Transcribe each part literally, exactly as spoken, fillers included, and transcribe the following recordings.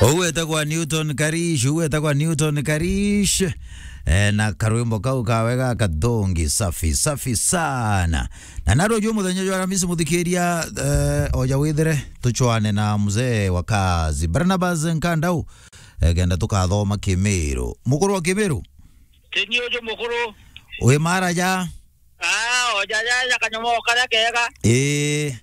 Uu etagwa Newton Karish, uu etagwa Newton Karish. Eh, na karwimbo kau kawe ga kathongi, safi, safi sana. Na naro juu muthenya jwa Aramisi muthikiria, eh, oja withire, tuchwane na mzee wa kazi. Barnabas Nkandau, eh, kenda tukathoma Kimiru. Mukuru wa Kimiru? Teni uju mukuru. Wi mara ja? Ah, oja ja, ja kanyomo karia kega. Ii.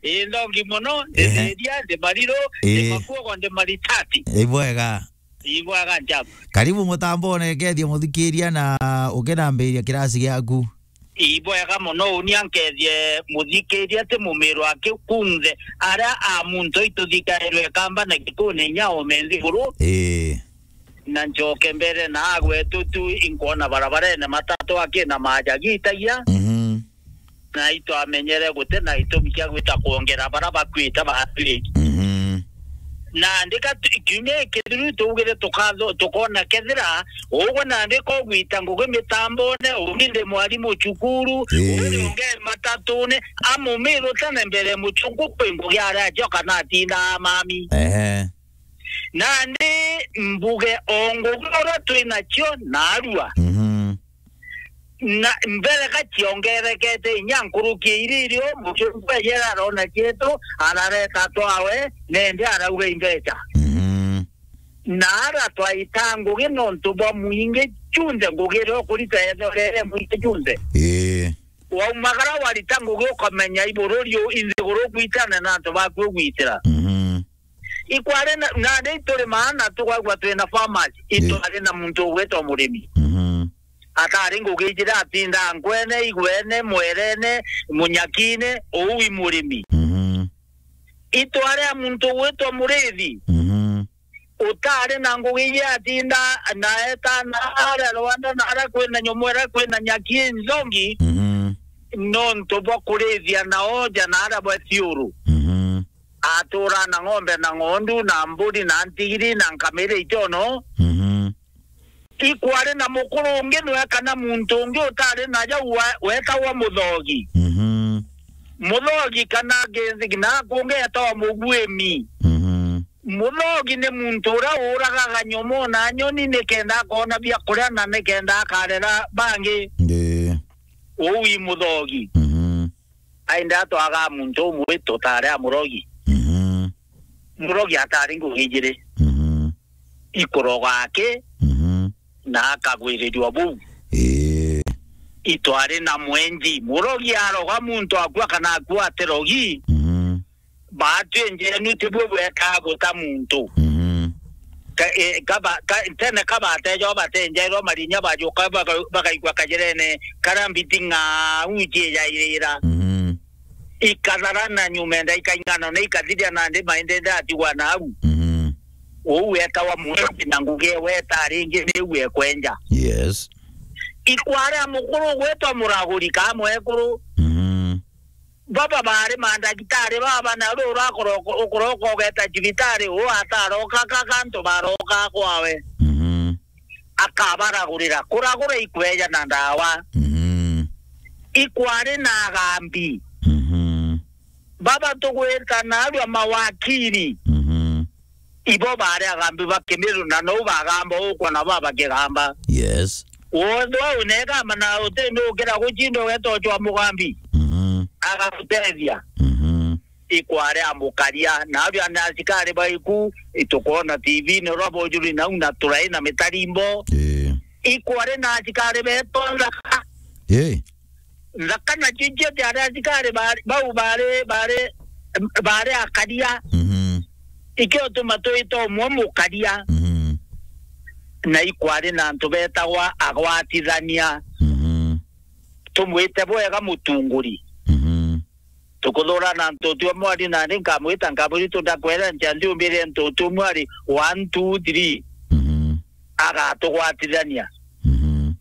Ii, nthongi mono, ndi Ehe. Thiria, ndi Mariru, ndi Ii. Makuogo, ndi Maritati. Ibwega. Ibwega njamba. Karibu mutambone, kethia muthikiria na ukinambiria kirasi giaku. Ibwega mono, unia nkethie muthikiria ti mumiro aki kunthe aria a muntu ituthikairwe kamba na gikune inya ome nthiguru. Ii. Na njoke mbere na agwetu tu inkwona barabarene matatu akina maja gitagia. Mhm. Na itwamenyere guti na itumi kia gwita kwongera bara bakwite batwi. Mhm. Na ndika tu-, kiumia gikithiru tuugire tukatho-, tukona kethira ugwe na ndiko gwita ngugi mitambone, ungi ndi mwarimu cukuru, Ii. Ungi unge matatune, amumiru tene mbere muchungu kwi ngugi aria acio kana atindaa mami. Ehe. Nandi mbuge o ngugi uria twi nacio naarua. Mhm. Na mbere ka ciongerekete inya nkuruki ya iria irio, muchungu ejera arona cietu, arareta twawe, nende arauga imbeca. Mhm. Na ara twaita ngugi nontu bwa mwingi junthe, ngugi iria ukurita ethorere mwingi junthe. Ii. Waumagara warita ngugi ukamenya ibururi u-, inthiguru gwitane na antu baku ugwitira. Mhm. Ikwari na, na ndi turi maana tukwagua twina farmers, Ii. Itwari na muntu ugwitwa murimi. Mhm. Atari ngugi ijiri atinda nkwene, igwene, mwerene, munyakine, uu i murimi. Mhm. Itwari a muntu ugwitwa murithi. Mhm. Utari na ngugi iji atinda na etana aria Rwanda na aria kwina nyomo, aria kwina nyaki inthongi. Mhm. Nontu bwa kurithia na oja na aria bwa thiuru. Mhm. Atura na ng'ombe na ng'ondu na mburi na ntigiri na nkamiri ichono. Mhm. Ikwari na mukuru ungi nwe kana muntu ungi utari na jau wa-, wetagwa muthogi. Mhm. Muthogi kana ngi-, na kungi etawa mugwimi. Mhm. Muthogi ni muntu uria uragaga nyomo na nyoni nikenda akona bia kuria na nikenda akarera bangi. Ii. Uu i muthogi. Mhm. Aenda atwaga muntu umwe tutari a murogi. Mhm. Murogi atari ngugi ijiri. Mhm. Ikuroga aki, Mhm. na akagwirirua buu. Ii. Itwari na mwenji. Murogi aroga muntu akua kana akua atirogi. Mhm. Baatwi njenu tibwe bwekaa guta muntu. Mhm. Ka-, e, kaba-, ka-, tene kabatejo batenjairwa marinya bajuka baka-, bakaigua kajirene karia mbiti ng'au ciijairira. Mhm. Ikathara na nyumenda ikaing'ana na ikathiria nandi maendende atigwa nau. Mhm. Uu wetawa mwenji na ngugi ewe etaringi niu ekwenja. Yes. Ikwarea mukuru gwetwa muraguri ka mwekuru. Mhm. Baba bari mandagitari baba, na uri urakoroka, ukoroka ugeta cibitari, uu ataroka ka, kantu baroka kwawe. Mhm. Akabaragurira, kuragura ikweja na ndawa. Mhm. Ikwari na agambi. Mhm. Baba tugwita narua mawakiri. Mhm. Ibo bari agambi ba Kimiru, na nou bagamba ukwa nabo abakigamba. Yes. Wonthe wau negamba na utindi ukira gucinda ugeta ucwa mugambi. Mhm. Agagutethia. Mhm. Ikwari amukaria, na abia ni asikari baiku, itukwona T V ni rwa bojuri nau na turai na mitarimbo. Ii. Ikwari na asikari beto nthaka. Ii. Nthaka na cicio ciari asikari bari, bau bari, bari, bari akaria. Mhm. Ikio tuma twita umwe mukaria. Mhm. Na ikwari na antu betagwa agwatithania. Mhm. Tumwite bwega mutunguri. Mhm. Tukuthurana ntutu umwe ari nani nkamwita nkamwira itu ndakwera ncha ndiumbire ntutu umwe ari one, two, three. Mhm. Agatugwatithania. Mhm.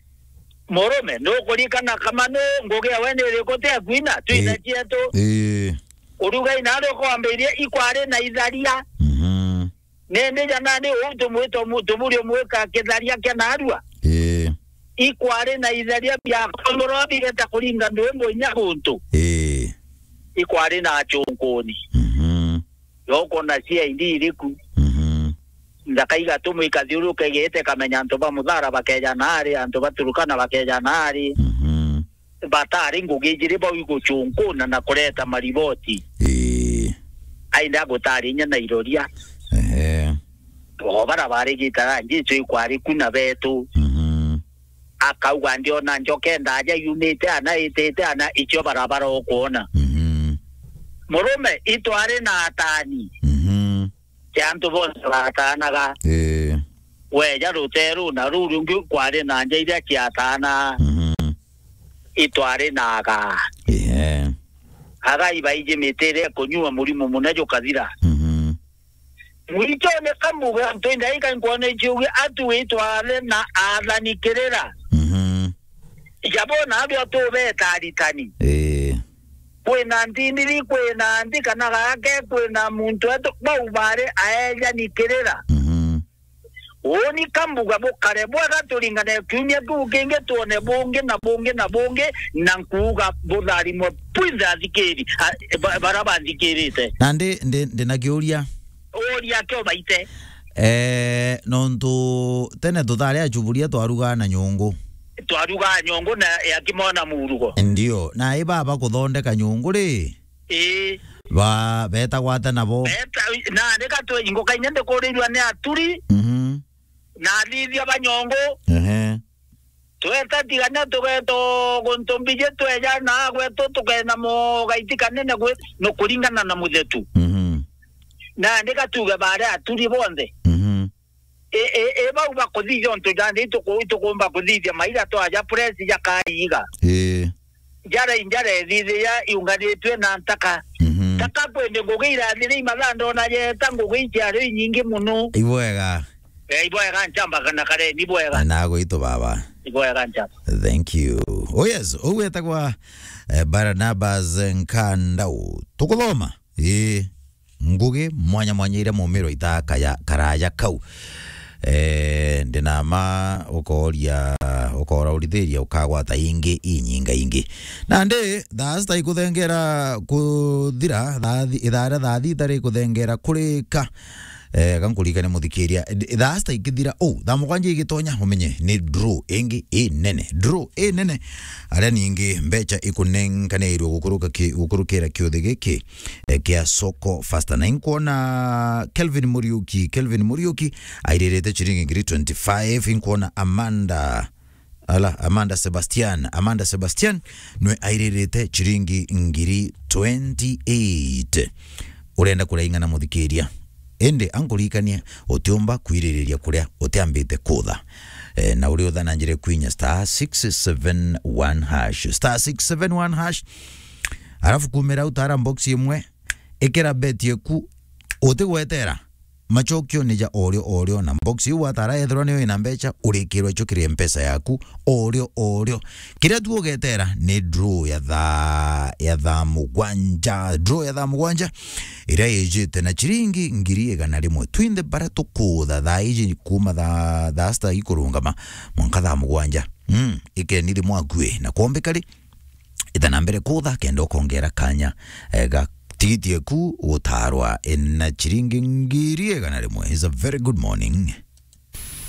Murume, nukurikana kama nu ngugi ewe ni iriku ti akuina? Twina Ii. cietu. Ii. Urugai nari ukwambiria ikwari na itharia. Mhm. Nindi ja nandi uu tumwita umu-, tuburi umwika kitharia kia narua. Ii. Ikwari na itharia bia komoro bigeta kuringa ndwimbo inya guntu. Ii. Ikwari na achunkuni. Mhm. Yoko na C I D iriku. Mhm. Nthaka igatumwa ikathiuruka igite ikamenya antu ba Muthara bakeja naari, antu ba Turukana bakeja naari. Mhm. Batari ngugi ijiri bau iguchunkuna na kureta mariboti. Ii. Ainda gutari inya na iroria. Ehe. O bara bari gitara Jesu ikwari ku na betu. Mhm. Akauga, "Ndiona njoke ndaja yumite ana, itite ana, icio barabara ukwona." Mhm. Murume itwari na atani. Mhm. Cia antu bonthe batanaga. Ii. Weja ruteru na ruu rungi kwari na nja iria ciatana. Mhm. Itwari na aga. Ii. Aga ibaiji miti iria ikunyua murimu muna jukathira. Mhm. Mwichone kambuga antu indaika nkwona ichiugi atu itware na athani kirira. Mhm. Jabona abio tubeta aritani. Ii. Kwina ntindiri, kwina nthi kana gake, kwina muntu wetu bau bari aejani kirira. Mhm. Uuni kambuga bukare bwega turingane kiumia kiu kingi twone bungi na bungi na bungi, na nkuuga butharimwe bwinthe athikiri, a-, ba-, bara banthikirite. Na ndi, ndi, ndi na kiuria. Uria kio baite. Eh, nontu tene tuthari achuburia twarugaa na nyungu. Twarugaa nyungu na ya kimona murugo. Ndio, na i baba kuthondeka nyungu ri? Ii. Ba, betagwa ata nabo? Beta, na nika twe ingo kainye ndikurirwa ni aturi. Mhm. Na athithia ba nyungu. Ehe. Tweta tigania tugeto guntu mbiji tweja na gwetu tukena mo gaiti kanene gwe no kuringana na muthetu. Mhm. Na ndika tuge bare aturi bonthe. Mhm. E, e, e, bau bakuthithia untu jandi ituku-, itukumba kuthithia maira twaja press jakaiga. Ii. Jara injara ethithia iunganitwe na ntaka. Mhm. Taka kwende ngugi irathire imathaa ndona jeta ngugi ichiari inyingi muno. Ibwega. Eh, ibwega nchamba kana kare, ni bwega. Na gwitu baba. Ibwega nchamba. Thank you. Oh yes, ugwetagwa, eh, Barnabas Nkandau. Tukuthoma. Ii. Ngugi mwanya mwanya iria mumiro itaa kaya, karaya kau. Eh, ndinama ukoria, ukora urithiria ukagwata ingi inyinga ingi. Nandi, thaa sita ikuthengera kuthira, thaa thi-, ithaa ria thaa thita rikuthengera kurika. Eh, ga nkuririkane muthikiria, thaa sita ikithira, oh, thaa mugwanja igitonya, umenye ni draw ingi inene. Draw inene, aria ningi mbecha ikunenkanirwe gukuruka ki-, gukurukira kiuthi giki, eh, kia Soko Fasta. Na inkwona Kelvin Muriuki, Kelvin Muriuki airirite chiringi ngiri twenty-five, inkwona Amanda, ala, Amanda Sebastian, Amanda Sebastian nwe airirite chiringi ngiri twenty-eight. Urenda kuraing'ana muthikiria? Indi ankuririkanie, utiumba kwiririria kuria utiambite kutha. Eh, na uri utha na njira kwinya star six seven one hash, star six seven one hash. Alafu kumira utara box imwe, ikira bet yeku, utigwetera. Machokio ni ja orio orio, na box iu watara ethirwa niyo ina mbecha, urikirwa icho kiri mpesa yaku orio orio. Kiria tu ugetera ni draw ya thaa, ya thaa mugwanja, draw ya thaa mugwanja, iria ijite na chiringi ngiri igana rimwe. Twinthe bara tukutha thaa iji kuma thaa, thaa sita ikurungama mwanka thaa mugwanja. Mm, ikeni thimu akue na kwombeka ri, ita na mbere kutha kenda ukongera kanya, eh, ga tigiti eku gutarwa, eh, na chiringi ngiri igana rimwe. Is a very good morning.